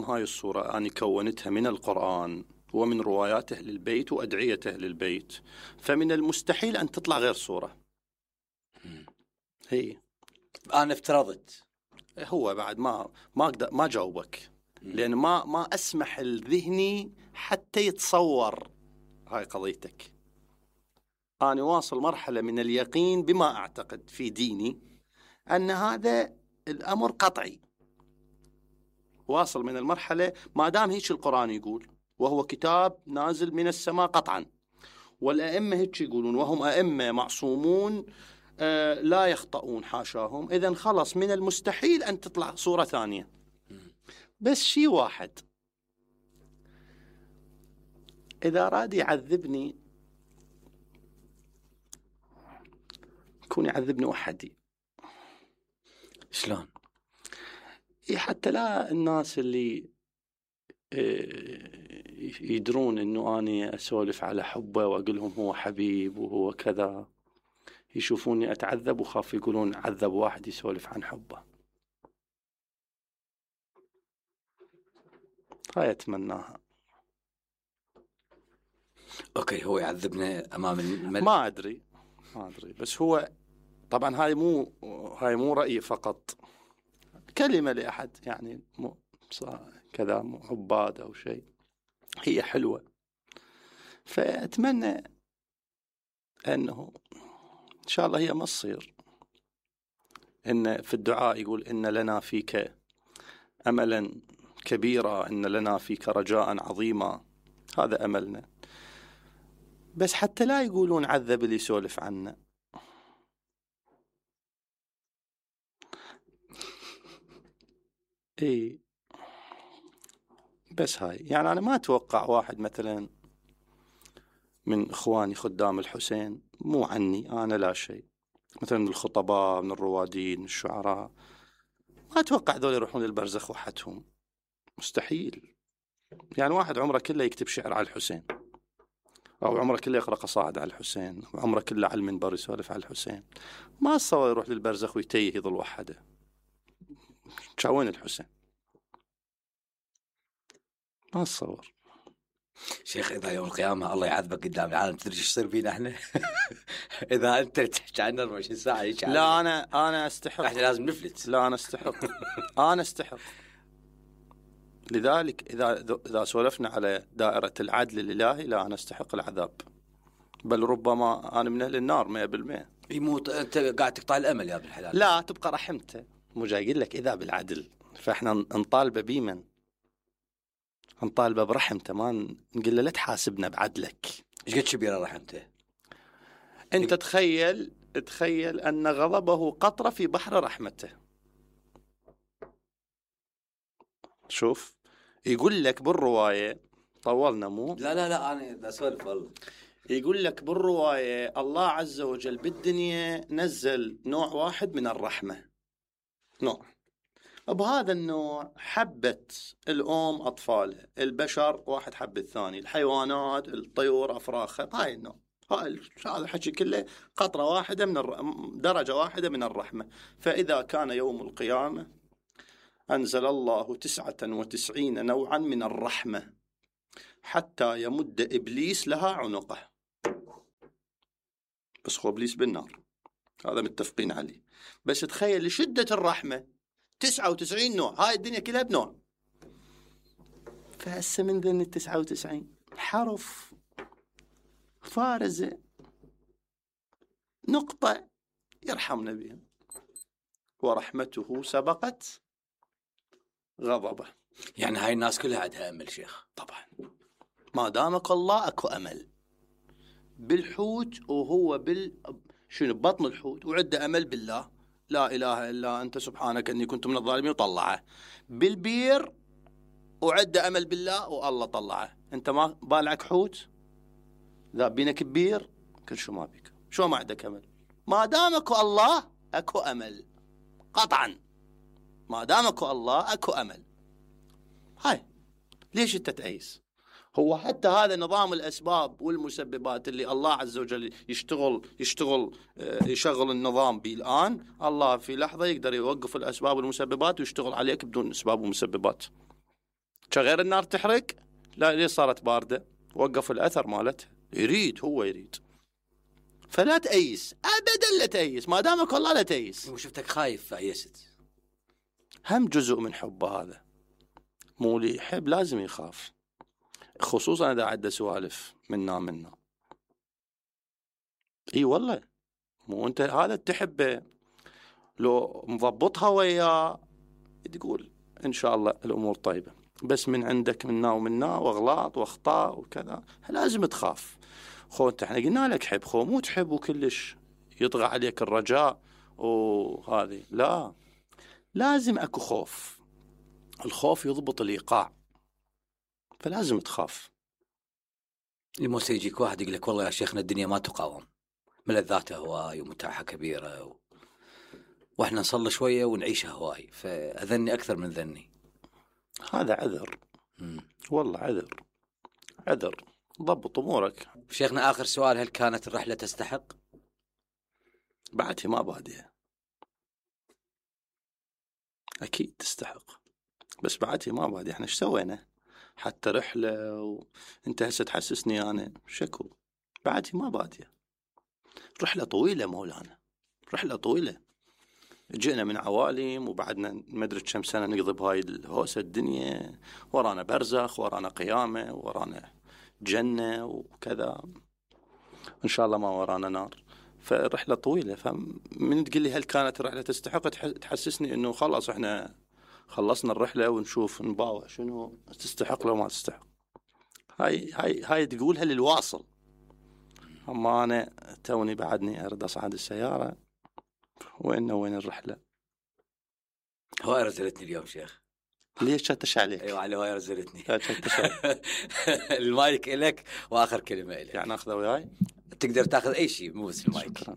هاي الصورة أنا كونتها من القرآن ومن روايات أهل البيت وأدعية أهل البيت، فمن المستحيل أن تطلع غير صورة. هي أنا افترضت، هو بعد ما جاوبك، لأن ما أسمح الذهني حتى يتصور هاي قضيتك. أنا واصل مرحلة من اليقين بما أعتقد في ديني أن هذا الأمر قطعي. واصل من المرحلة ما دام هيك القرآن يقول، وهو كتاب نازل من السماء قطعا، والأئمة هيك يقولون وهم أئمة معصومون لا يخطئون حاشاهم، إذن خلص من المستحيل أن تطلع صورة ثانية. بس شيء واحد، إذا راد يعذبني يكون يعذبني وحدي. شلون؟ حتى لا الناس اللي يدرون انه اني اسولف على حبه واقول لهم هو حبيب وهو كذا، يشوفوني اتعذب وخاف يقولون عذب واحد يسولف عن حبه. هاي اتمناها. اوكي، هو يعذبنا امام الملك؟ ما ادري بس هو طبعا هاي مو رأيي فقط، كلمة لأحد يعني كذا عباد أو شيء، هي حلوة. فأتمنى أنه إن شاء الله هي ما تصير. إن في الدعاء يقول إن لنا فيك أملا كبيرا، إن لنا فيك رجاء عظيما، هذا أملنا. بس حتى لا يقولون عذب اللي يسولف عنا. إيه بس هاي يعني أنا ما أتوقع واحد مثلا من إخواني خدام الحسين، مو عني أنا لا شيء، مثلا من الخطباء، من الروادين، من الشعراء، ما أتوقع ذول يروحون للبرزخ وحدهم، مستحيل. يعني واحد عمره كله يكتب شعر على الحسين، أو عمره كله يقرأ قصائد على الحسين، أو عمره كله على المنبر يسولف على الحسين، ما أتصور يروح للبرزخ ويتيه يظل وحده. شاوين الحسين؟ ما أتصور. شيخ إذا يوم القيامة الله يعذبك قدام العالم تدري ايش يصير فينا احنا؟ إذا أنت تحكي عنا 24 ساعة لا أنا أستحق. احنا لازم نفلت. لا أنا أستحق. أنا أستحق. لذلك إذا سولفنا على دائرة العدل الإلهي، لا أنا أستحق العذاب، بل ربما أنا من أهل النار 100%. يموت أنت قاعد تقطع الأمل يا ابن الحلال. لا تبقى رحمته، مو جاي أقول لك إذا بالعدل، فإحنا نطالبه بيمن، نطالبه برحمته، ما نقول له لا تحاسبنا بعدلك. إيش قد كبيرة رحمته؟ أنت تخيل أن غضبه قطرة في بحر رحمته. شوف يقول لك بالرواية، طولنا مو؟ لا أنا أسولف والله. يقول لك بالرواية الله عز وجل بالدنيا نزل نوع واحد من الرحمة، نوع، بهذا النوع حبت الأم أطفالها، البشر واحد حب الثاني، الحيوانات الطيور أفراخها، هاي النوع. هذا الحكي كله قطرة واحدة درجة واحدة من الرحمة. فإذا كان يوم القيامة أنزل الله 99 نوعا من الرحمة حتى يمد إبليس لها عنقه. بس هو إبليس بالنار، هذا متفقين عليه. بس تخيل لشدة الرحمة 99 نوع، هاي الدنيا كلها بنوع. فهسه من ذن 99 حرف فارزة نقطة يرحمنا بها، ورحمته سبقت غضبه. يعني هاي الناس كلها عندها أمل شيخ. طبعا ما دامك الله أكو أمل. بالحوت وهو شنو بطن الحوت وعنده أمل بالله، لا إله إلا أنت سبحانك أني كنت من الظالمين، وطلعه. بالبير وعنده أمل بالله والله طلعه. أنت ما بالعك حوت ذا بينك ببير كل شو ما بيك، شو ما عندك أمل. ما دامك الله أكو أمل قطعا، ما دامك الله أكو أمل. هاي ليش أنت تأيس؟ هو حتى هذا نظام الأسباب والمسببات اللي الله عز وجل يشغل النظام به الآن، الله في لحظة يقدر يوقف الأسباب والمسببات ويشتغل عليك بدون أسباب ومسببات. غير النار تحرق، لا ليه صارت باردة؟ وقف الأثر مالتها، هو يريد. فلا تأيس أبدا، لا تأيس ما دامك الله، لا تأيس. وشفتك خايف فأيست. هم جزء من حبه هذا، مو اللي يحب لازم يخاف، خصوصا إذا عدى سوالف منا. اي والله، مو انت هذا تحبه لو مضبطها وياه تقول ان شاء الله الامور طيبه، بس من عندك منا واغلاط واخطاء وكذا لازم تخاف. انت احنا قلنا لك حب، مو تحب وكلش يطغى عليك الرجاء وهذه، لا، لازم اكو خوف. الخوف يضبط الايقاع، فلازم تخاف. الموسى يجيك واحد يقول لك والله يا شيخنا الدنيا ما تقاوم، ملذاتها هواي ومتاعها كبيرة واحنا نصلي شوية ونعيشها هواي، فأذني أكثر من ذني. هذا عذر. والله عذر. ضبط أمورك. شيخنا آخر سؤال، هل كانت الرحلة تستحق؟ بعدها ما بادية، أكيد تستحق، بس بعدها ما بادية. احنا ايش سوينا حتى رحلة وانت هسه تحسسني أنا شكو؟ بعدها ما بادية. رحلة طويلة مولانا، رحلة طويلة. جئنا من عوالم وبعدنا ما ادري كم سنة نقضي بهاي الهوسة الدنيا، ورانا برزخ، ورانا قيامة، ورانا جنة وكذا، إن شاء الله ما ورانا نار. فرحلة طويلة. فمن تقول لي هل كانت الرحلة تستحق، تحسسني إنه خلاص إحنا خلصنا الرحلة ونشوف نباوع شنو تستحق لو ما تستحق. هاي تقولها للواصل. أما أنا توني بعدني أرد أصعد السيارة، وين الرحلة. هواي رزلتني اليوم شيخ. ليش شتش عليك؟ ايوه على هواي رزلتني. المايك إلك واخر كلمه إلك. يعني اخذه وياي؟ تقدر تاخذ اي شيء مو بس المايك. شكرا.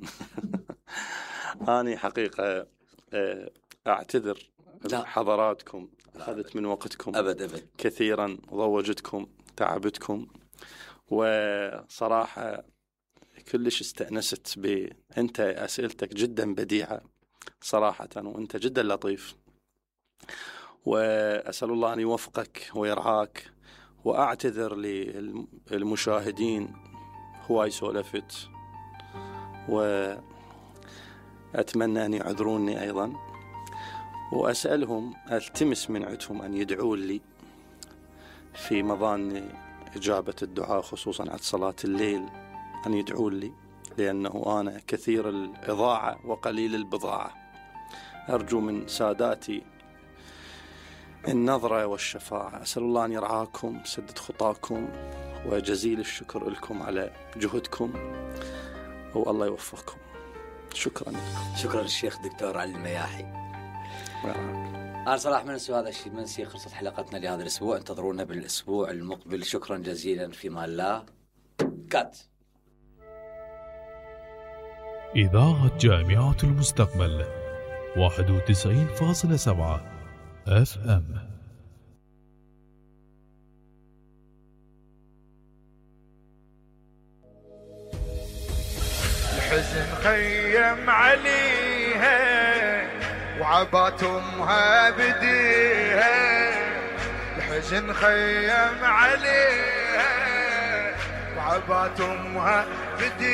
اني حقيقه اعتذر حضراتكم، اخذت من وقتكم ابد كثيرا، ضوجتكم، تعبتكم، وصراحه كلش استأنست انت اسئلتك جدا بديعه صراحه، وانت جدا لطيف، وأسأل الله أن يوفقك ويرعاك. وأعتذر للمشاهدين هواي سولفت، وأتمنى أن يعذروني أيضا، وأسألهم ألتمس من عندهم أن يدعوا لي في مظان إجابة الدعاء، خصوصا عند صلاة الليل، أن يدعوا لي، لأنه أنا كثير الإضاعة وقليل البضاعة. أرجو من ساداتي النظرة والشفاعة. أسأل الله أن يرعاكم، سدد خطاكم، وجزيل الشكر لكم على جهدكم، والله يوفقكم. شكرا لكم. شكرا للشيخ دكتور علي المياحي. أنا صراحة من هذا الشيء منسي. خلصت حلقتنا لهذا الأسبوع، انتظرونا بالأسبوع المقبل. شكرا جزيلا، في مان الله. كات. إذاعة جامعة المستقبل 91.7 FM. الحزن خيم عليها وعبات امها بديها، الحزن خيم عليها وعبات امها بديها.